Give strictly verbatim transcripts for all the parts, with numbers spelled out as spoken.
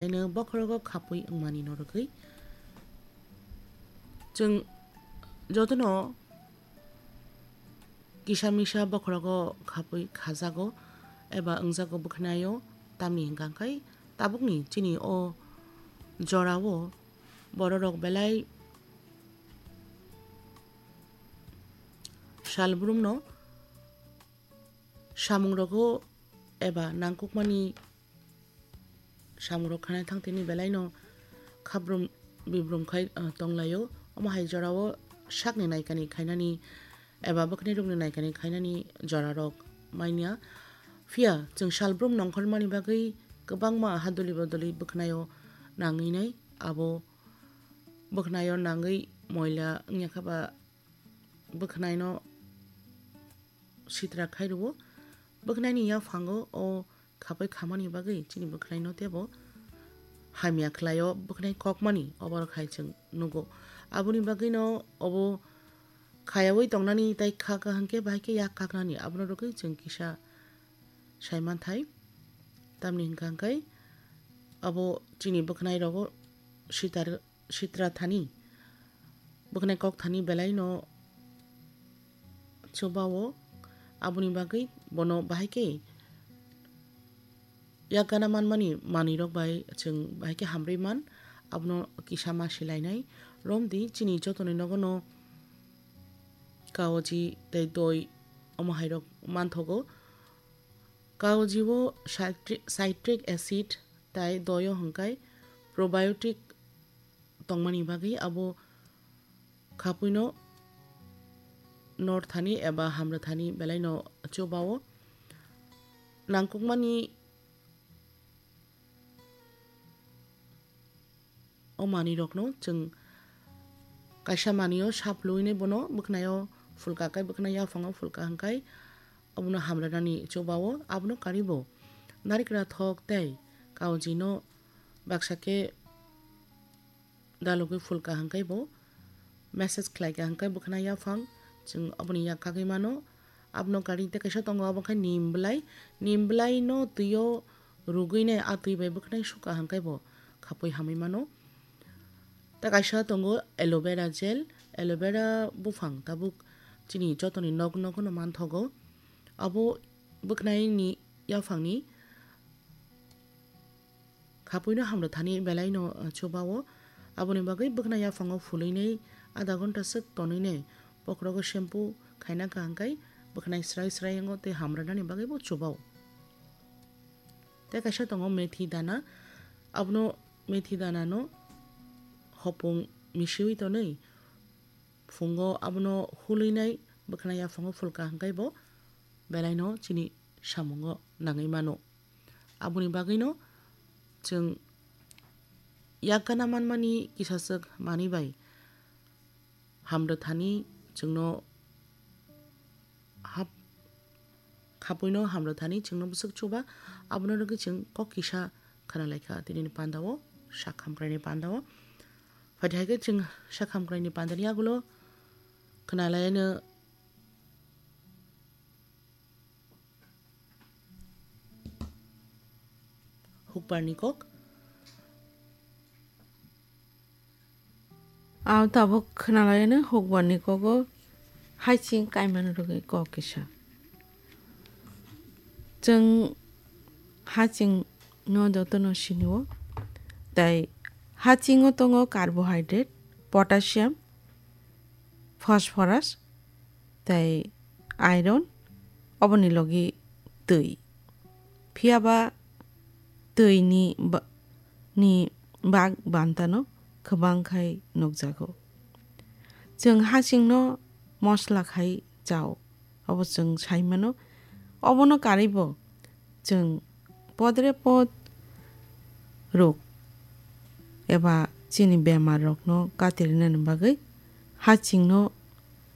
Eno bokhorogo khapwi wngmani norogwi. Chwng jotono kisa misa bokhorogo khapwi khajago eba wngjago bwkhwnaio, tamni hwnkha khe tabukni chini o jorao bororok belai salbrumno samungrogo eba nangkukmani samungrok khanai thangtini belaino khabrum bibrum khai, ah, tonglaio. Omo hai jorao sakni naikani khainani eba bwkhwnirokni naikani khainani jorarok manya. Phiya chwng salbrum nongkhormani bagwi kwbangma haduli bodoli bwkhwnaio nangwi nai. Abo bwkhwnaio nangwi moila wngya kha ba bwkhwnaino sitra khai rwo. Bwkhwnaini yaphango o khapwi khamani bagwi chini bwkhwnaino teibo hamya khlaio, bwkhwnai kokmani oborok hai chwng nugo. Aboni bagwino obo khayaui tongnani tei kha kaham khe bahai khe yak kaknani, abono rwgwi chwng kisa sai manthai. Tamni hwnkha hwnkhe abo chini bwkhwnai rogo sitar sitra thani, bwkhwnai kok thani belaino chubao, aboni bagwi bono bahai khe yak gana manmani manwirok bai chwng bahai khe hamrwi man, abono kisa ma silainai. Romdi chini jotoni nogono kaoji tei doi omo hairok manthogo. Kaoji o citric, citric acid tei doio hwnkhe probiotic tongmani bagwi abo khapuino northani eba hamrwthani belaino chubao. Nangkukmani o manwirokno chwng kaisa manwio saplwinai bono bwkhwnaio phulka khe, bwkhwnai yaphango phulka hwnkhe abono hamrwnani chubao. Abono karibo narikra thok tei kaojino baksa khe dalogwi phulka hwnkhe bo message khlaikha hwnkhe bwkhwnai yaphang chwng oboni yak kagwi mano. Abono kari tei kaisa tongo, abo khe nim bwlai, nim bwlaino twio rugwinai a twi bai bwkhwnai sukha hwnkhe bo khapwi hamwi mano. Tei kaisa tongo aloe vera gel, aloe vera buphang tabuk chini jotoni nok nogono manthogo. Abo bwkhwnaini yaphangni khapuino hamrwthani belaino, uh, chubao. Aboni bagwi bwkhwnai yaphango phulwinai adha ghonta swk tonwinai bokhorogo shampoo khaina kaham khai bwkhwnai srai srai wngo tei hamrwnani bagwi bo chubao. Tei kaisa tongo methi dana, abono methi dana no hopung misiwi tonwi phungo abono hulwinai bwkhwnai yaphango phulka hwnkhe bo belaino chini samungo nangwi mano. Aboni bagwino chwng yak gana manmani kisaswk manwi bai hamrwthani chwngno hap-, khapuino hamrwthani chwngno bwswk chuba, abono rwgwi chwng kok kisa khwnalaikha tinini pandao, sak hamkraini pandao. Phaidi hai khe chwng sak hamkraini pandani yagulo khwnalaino. Hukbarni kok. Ang tabuk khwnalaino hukbarni kogo haching kaimani rwgwi kok kisa. Chwng haching no jotono sinio. Tai hachingo tongo carbohydrate, potassium, phosphorus, tei iron, oboni logi twi. Phiya ba twi ni ba-, ni bag bantano kwbang khai nukjago. Chwng hachingno mosla khai chao, obo chwng sai mano. Obono karwi bo chwng podre pod rok eba chini bemar rokno katirinani bagwi hachingno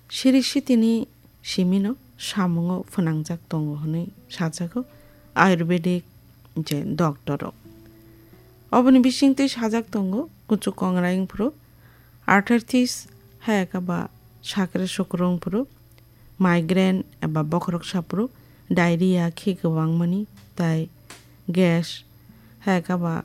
siri sitini simino samungo phwnangjak tongo hwnwi sajago Ayurvedic je doctor rok. Oboni bisingtwi sajak tongo kuchuk kongraiyung phuru, arthritis, hayakhe ba sakre sukrung phuru, migraine eba bokhorok saphuru, diarrhea khe kwbangmani, tai gas, hayakhe ba